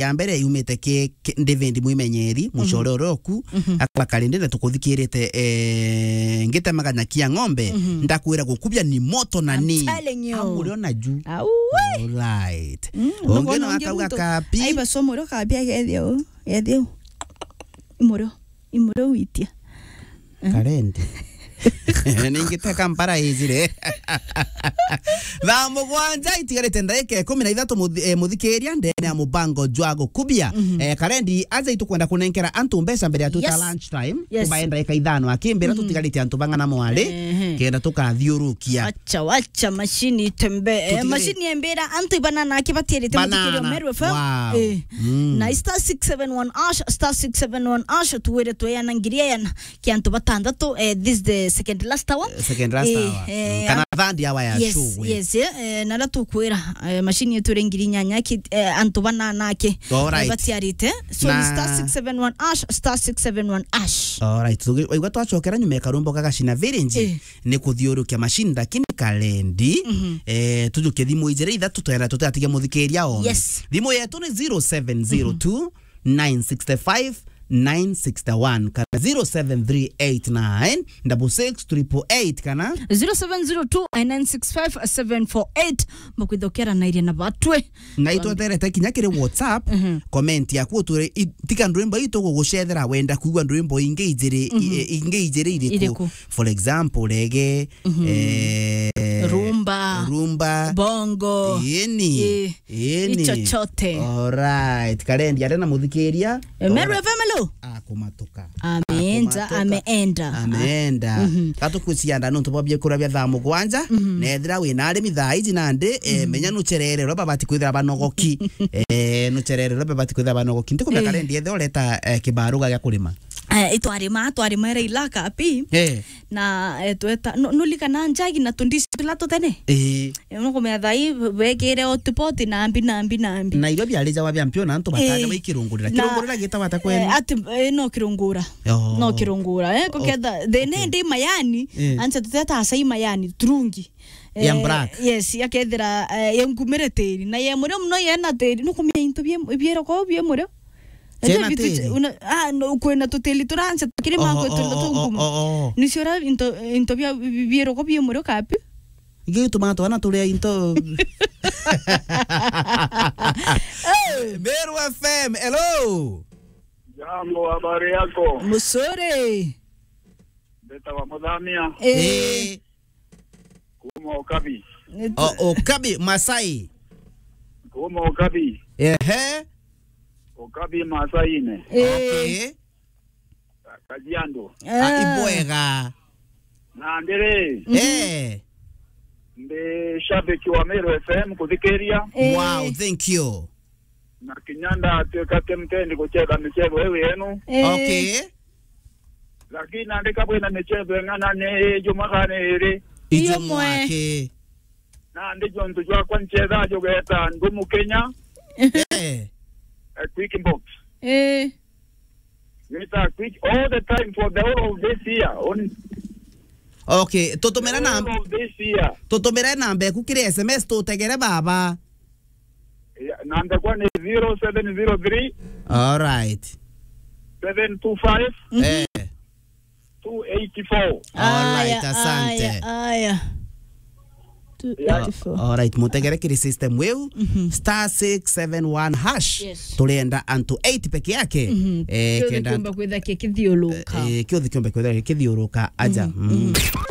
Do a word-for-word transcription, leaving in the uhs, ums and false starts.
ya mbere yumite ki, ki David Mwimenyeri, mucore uria oku, akaba Karindi na tukuthikirite, eh, ngitemaga nyaki ya ng'ombe, ndakwira gukubia ni moto na I'm ni. Telling you. Amurio na ju. Au, we. Alright. Mm, ungi no akauga muntu kapi. Ai, basomo rio kapi agethio. Ethio. Imurio. Imurio witia. Karendi. Ningite Kampala ijire. Thaa mugwanja itigarite ndagika ikumi na ithatu muthi-, eh, muthikiria ndene ya mubango jwa gukubia. Eh, Karendi, aja itukwenda kunenkera antu mbeca mbere ya twita lunch time. Yes. Kubae ndagika ithano akimbira tutigarite antu bang'ana mwari, kenda tukathiurukia. Acha, wacha mashini itembee. Eh, mashini yembira antu ibanana aki batiarite muthikiria Meru F M. Wow. Eh. Na star six seven one hash, star six seven one hash, tuwire tweyana ngiri eyana. Ki antu batandatu, eh, this the second last hour. Eh, second last hour. Eh, kana third hour ya show, we. Yes, eh, eh, na ria tukwira, eh, mashini yetu iri ngiri inyanya ki, eh, antu banana aki, eh, batiarite. So, ni star six seven one hash, star six seven one hash. Alright, so, waigua twacokera nyuma ya karumbo gagacina virinji, ni kuthiurukia mashini, lakini Karendi, eh, tujukie thimu ijiri ithatu twenda tutigatige muthikiria one. Yes. Thimu yetu ni zero seven zero two, nine six five, nine six one, kana zero seven three eight nine double six triple eight, kana zero seven zero two nine six five seven four eight. Mbakwithokera na iria na batwe. Na itweterete kinya kiri WhatsApp, comment yaku utwire, i-, tika ndwimbo itu gugucethera wenda kuigua ndwimbo ingi ijiri, i-, ingi ijiri iriku. Iriku? For example, rege, eh, rumba, rumba, bongo. Yeni. Eh. Ii, ni. Ichochote. Alright. Karendi, aria na muthikiria. Eh, Meru F M, hello. Akumatuka. Ameenda, akumatuka. Ameenda. Ameenda. Gatukwicianda nontu bwa biakuria bia thaa mugwanja, na ethira wina arimi thaa iji nandi, eh, menya nucherere uria babati kwithira banogoki. Eh, nucherere uria babati kwithira banogoki. Ntikumenya Karendi, ethira ureta, eh, kibaruga gia kurima. Eh, itwarima, twarima ira ilaka pi. Eh. Na, eh, tweta, nu-, nulikana njagi na tundici tula tutene? Ii. Eh, nukumenya thai, be-, bekire hotpot na mbi, na mbi, na mbi. Na irio biari jawa bia mpio na antu bataja, eh, baikirungurira. Na, kirungurira gitagwa ata kwenu? Eh, ati, eh, no kirungura. Oh. No kirungura, eh, kuketha, the ne ndi mayani, eh, anse tuteta acai mayani, turungi. Ya, eh, black. Yes, yakethira, eh, ya nkumire tiri. Na ye murio muno yena tiri, nukumenya into bie, biero ko bie murio. Ciena tiri? Una, ah, no, kwina tutiri turanse, kiri makwe tunda tungumu. Oh, oh, oh. Nicio ra into, into bia, bi-, bieroko bie murio kapi? Ingi gituma twana turia into. Hey! Meru F M, hello. Jambo, habari yako? Musore. Mbeta wa Muthamia. Eh. Eh. Kuma Ukabi. O-, Ukabi, Masai. Kuma Ukabi. Ehe. Ukabi Masaine. Eh. Okay. Kajiado. Ah, ah. Ibwega. Na ndiri. Mhm. Eh. Ndi shabiki wa Meru F M kuthikiria. Eh. Wow, thank you. Na kinya ndatuika ti mtendi gucetha michezo iu yenu. Eh. Okay. Lakini nandika bwina michezo ing'ana ni jumwa kana iri. Iyo mwe. Ijumwa ki? Nandi jontu jwakwa ncetha jugeta ndumu Kenya. Eh. A quick box. Eh. Nita quick all the time for the whole of this year. On. Okay, tutumira na all of this year. Tutumire namba eku kiri S M S tutegere baba. Yeah, namba kwa ni zero seven zero three. All right. Seven two five. Mhm. Eh. Two eighty-four. All right, aya, asante. Aya, aya. Two eighty-four. Yeah. All right, mutegere kiri system weu, mhm, star six seven one hash. Yes. Turenda antu eight peke yake. Mhm. Eh, kiothi kenda kiumba kwitha kikithiuruka. Eh, kiothi kiumba kwitha kikithiuruka aja. Mhm, mm, mhm.